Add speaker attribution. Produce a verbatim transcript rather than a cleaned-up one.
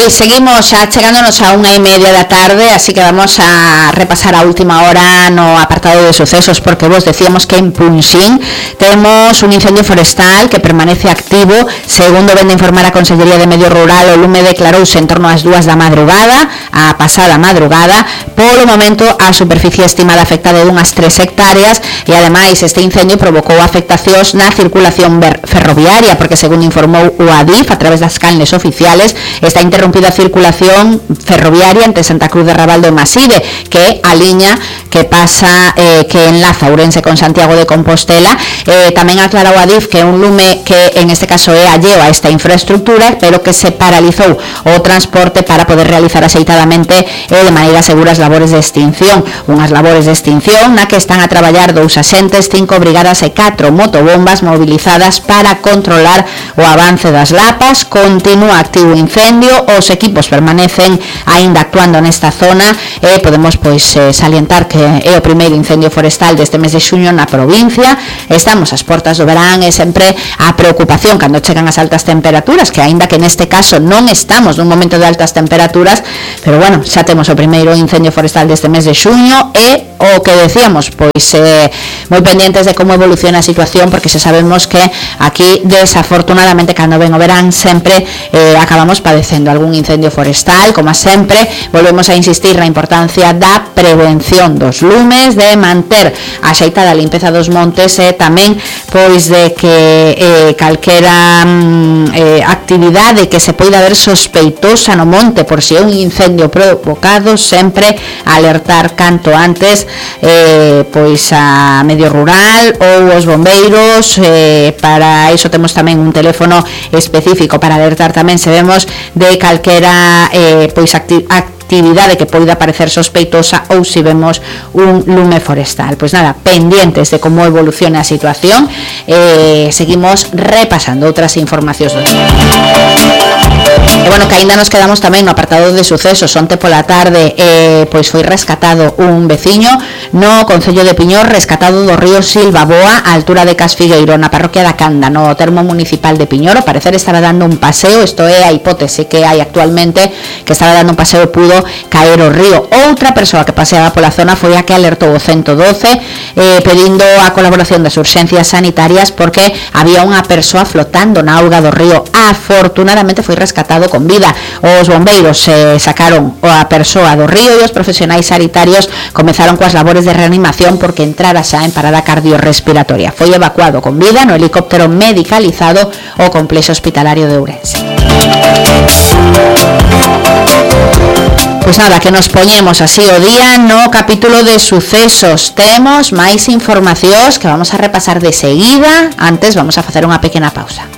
Speaker 1: Pois seguimos xa chegándonos a unha e media da tarde, así que vamos a repasar a última hora no apartado de sucesos, porque vos decíamos que en Punxín temos un incendio forestal que permanece activo. Segundo vende informar a Consellería de Medio Rural, o lume declarouse en torno ás dúas da madrugada, a pasada madrugada. Polo momento a superficie estimada afectada é dunhas tres hectáreas e ademais este incendio provocou afectacións na circulación ferroviaria, porque segundo informou o Adif a través das canles oficiales, está interrumpida a circulación ferroviaria entre Santa Cruz de Rabaldo e Maside, que é a liña que pasa eh, que enlaza Ourense con Santiago de Compostela. Eh, tamén aclara o Adif que é un lume que en este caso é alleo a esta infraestructura, pero que se paralizou o transporte para poder realizar axeitadamente e eh, de maneira segura as labores de extinción. Unhas labores de extinción na que están a traballar dous axentes, cinco brigadas e catro motobombas mobilizadas para controlar o avance das lapas. Continúa activo o incendio, os equipos permanecen aínda actuando nesta zona e podemos pois eh, salientar que é o primeiro incendio forestal deste mes de xuño na provincia. Estamos ás portas do verán e sempre a preocupación cando chegan as altas temperaturas, que aínda que neste caso non estamos nun momento de altas temperaturas, pero bueno, xa temos o primeiro incendio forestal deste mes de xuño e o que decíamos, pois eh, moi pendientes de como evoluciona a situación, porque xa sabemos que aquí desafortunadamente cando ven o verán sempre eh, acabamos padecendo algún incendio forestal. Como sempre, volvemos a insistir na importancia da prevención dos lumes, de manter a xeitada a limpeza dos montes e tamén pois de que eh, calquera mm, eh, actividade que se poida ver sospeitosa no monte por si é un incendio provocado, sempre alertar canto antes eh, pois a Medio Rural ou os bombeiros. Eh, para iso temos tamén un teléfono específico para alertar tamén se vemos de calquera eh, pois acti actividade que poida parecer sospeitosa ou se vemos un lume forestal. Pois nada, pendientes de como evoluciona a situación. Eh, seguimos repasando outras informacións do día. E bueno, que aínda nos quedamos tamén no apartado de sucesos. Onte pola tarde eh, pois foi rescatado un veciño no Concello de Piñor, rescatado do río Silvaboa á altura de Casfigueiro, na parroquia da Canda, no termo municipal de Piñor. Ao parecer estaba dando un paseo, isto é a hipótese que hai actualmente, que estaba dando un paseo e pudo caer o río. Outra persoa que paseaba pola zona foi a que alertou o ciento doce eh, pedindo a colaboración das urxencias sanitarias porque había unha persoa flotando na auga do río. Afortunadamente foi rescatado con vida. Os bombeiros eh, sacaron a persoa do río e os profesionais sanitarios comezaron coas labores de reanimación porque entrara xa en parada cardiorrespiratoria. Foi evacuado con vida no helicóptero medicalizado ao complexo hospitalario de Ourense. Pois nada, que nos poñemos así o día no capítulo de sucesos. Temos máis informacións que vamos a repasar de seguida. Antes vamos a facer unha pequena pausa.